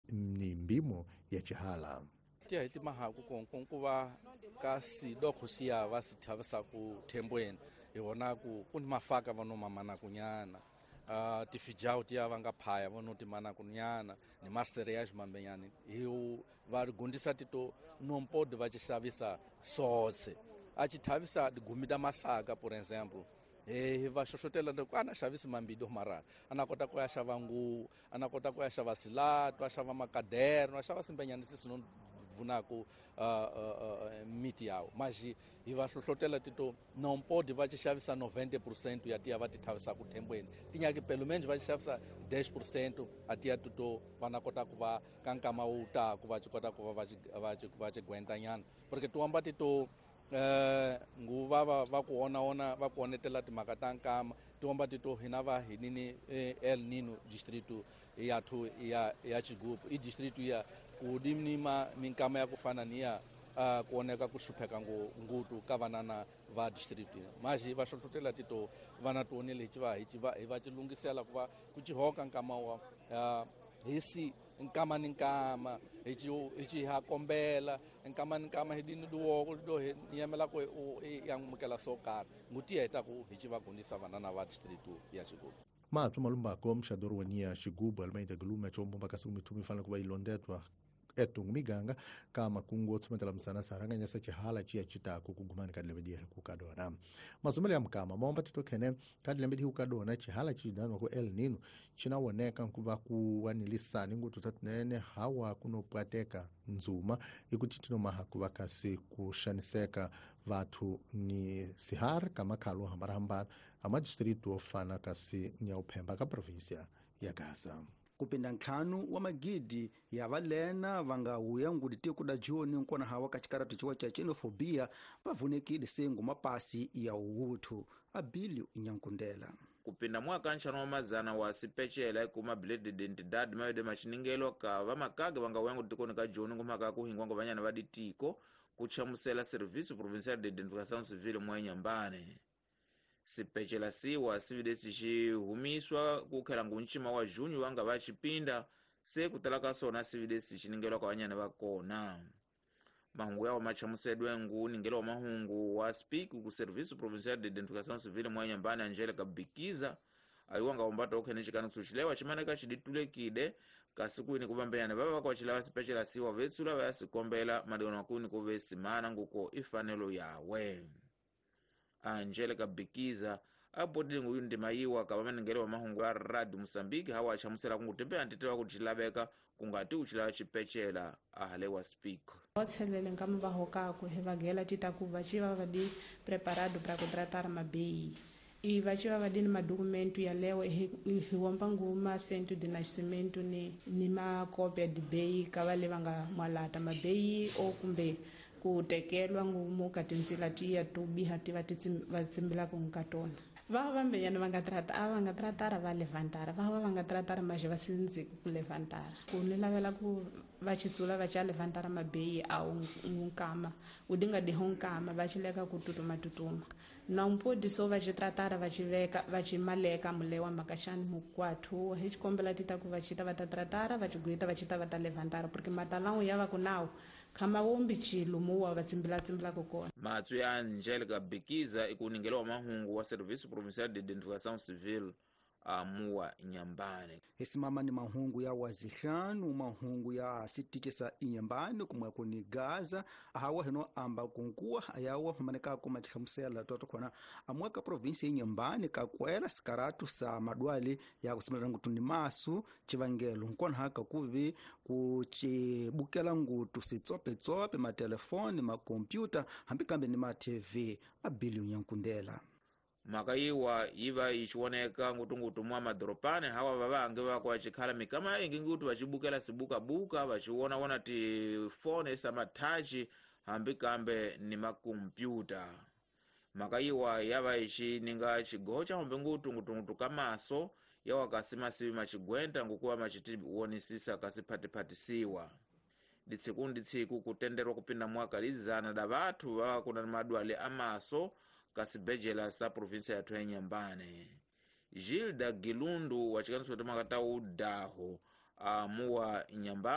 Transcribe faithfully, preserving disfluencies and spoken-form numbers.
Ni mbimo ya chihala tia hiti mahaku konkonkuva kasi doko siya va sithavisa ku thembweni hi vona ku ku ni mafaka va no mamana kunyana uh, tifijao tia va nga phaya va no timana kunyana ni macereais mambenyani hi va gundisa tito nompodi va xavisa sotse a xi thavisa digumi ta masaka por exemple eh va xoxotela loko ana xavisi mambido mara ana kota ku ya xava nguvu ana kota ku ya xava silato a xava makaderno a xava simbenyani sisi no vunaku uh, uh, miti yawo mas hi va hlohlotela tito não pode va xavisa noventa por cento ya tia va ti thavisa ku thembweni tinyaki pelo menos va xavisa dez por cento a tia tuto va na kota ku va ka nkama wu ta ku va kota ku va va va va gwentanyana porque tuamba tito eh nguva va va ku ona ona va ku onetela timhaka ta nkama tiomba tito hina va hinini El Nino distrito ya thu ya ya Chigubu i distrito ya ku dimnima minkama ya ku fana ni ya ku oneka ku hlupheka ngutu ka vanana va distrito maji va hlohlotela tito vana tionele hi va hi va hi va tilungisela ku va ku cihoka nkama wa hisi nkama ni nkama hi ci hi ci ha kombela nkama ni nkama hi dini duwo do hi yemela ku ya mukela so karhi nguti heta ku hi ci va gundisa vanana va distrito ya Chigubu Mathu malumbako mxadoro wania Chigubu Almeida Glume chombo mpaka mitumi fana kuba ilondetwa etungu miganga kama kungu tsumetela msana saranga nyasa chihala chia chitaku kugumani kadilembedi kukadona mazumele ya mkama maomba titokene kadilembedi kukadona chihala chidano ku El Nino chinawoneka nkuva kuwanilisani ngutu tatinene hawa kunopwateka nzuma ikuti tinomaha kuva kasi kushaniseka vathu ni sihar kama khalo hambarahambara amadistritu ofana kasi nyauphemba ka provinsia ya Gaza. Kupinda ntlhanu wa magidi ya valena va nga huya ngudi tiko da joni nkona hawa ka xikaratu xiwa xa xenofobia va vunekile sengu mapasi ya uwuthu Abilio Nyankundela. Kupinda mwaka nxano wa mazana wa sipecela ikuma bilete d'identidade mayode machiningelo ka vamakage va nga huya ngudi tikoni ka joni ngumhaka ku hingwa vanyana va ditiko ku chamusela Serviço Provincial de Identificação Civil mwa Inhambane. Sipecela siwa sividesi xihumiswa ku khela ngunchima wa junho wa nga va xipinda se ku tala ka sona sividesi xiningelwa ka vanyana va kona. Mahungu yawo machamusedwe ngu ningelo wa mahungu wa speak ku Serviço Provincial de Identificação Civil mwa Inhambane Angelica Bikiza ayiwa nga umbata okhene xikani kusuxilewa ximaneka xiditulekile kasi kwini ku vambenyana va va kwaxilawa sipecela siwa vetsula va ya sikombela madona kwini ku ve simana nguko ifanelo yawe. Angelica Bikiza abodile nguyu ndima yiwa ka vamaningelo wa mahungu ya Radio Mozambique hawa achamusela kungutembeya ntitewa kuti xilaveka kungati uxilawa xipecela ahalewa speak. Otselele nkama va hokaku hi vagela tita ku va xi va va di preparado para contratar mabei e va xi va va di ni madokumento yalewo hi hi womba nguma cento de nascimento ni ni makopia de bei ka va le va nga mwalata mabei o kumbe ku tekelwa ngumu ka tindzila tiya to biha ti va ti va tsimbelaka ka tona. Va vambenyana va nga trata a va nga tratara va levantara va va va nga tratara maje va sindziku ku levantara ku ni lavela ku va xitsula va xa levantara mabeyi a wu nkama wu dinga diho nkama va xileka ku tutuma tutuma na mpodi so va xi tratara va xi veka va xi maleka mulewa makaxani mukwathu hi xikombela ti ta ku va xita va ta tratara va xi gwita va xita va ta levantara porque matalangu ya va ku nawu khama wombi chilo muwa va tsimbela tsimbelaka kona. Matsu ya Angelica Bikiza ikuningelo wa mahungu wa Serviço Provincial de Identificação Civil amuwa Inhambane. Esimama ni mahungu ya wazihlanu mahungu ya sitiche sa Inhambane kumwe kuni Gaza hawa hino amba kunkuwa ayawa maneka kuma chihamusela toto khona amwaka provinsi ya Inhambane kakwela sikaratu sa madwali ya kusimela ngutu ni masu chivangelo nkona haka kuvi kuchibukela ngutu sitsope tsope matelefoni makompyuta hambi kambe ni ma T V Abilio Nyankundela. Makayiwa iva ichiwoneka ngutungutu mwa madoropane hawa vavange vakwa chikhala mikama ingi ngutu vachibukela sibukabuka vachiwonawona tifone samathachi hambi kambe ni makompyuta. Makayiwa yava ichininga chigoho cha hombe ngutu ngutungutu kamaso yawa kasimasiwi machigwenta ngukuwa machitiwonisisa kasiphatiphatisiwa. Ditsiku nditsiku kutenderwa kupinda mwaka lizana da vathu vava kuna madwale amaso kasibejela sa provinsia ya Inhambane. Gilda Gilundu wachikaniso kuti makatau daho amuwa Inhambane.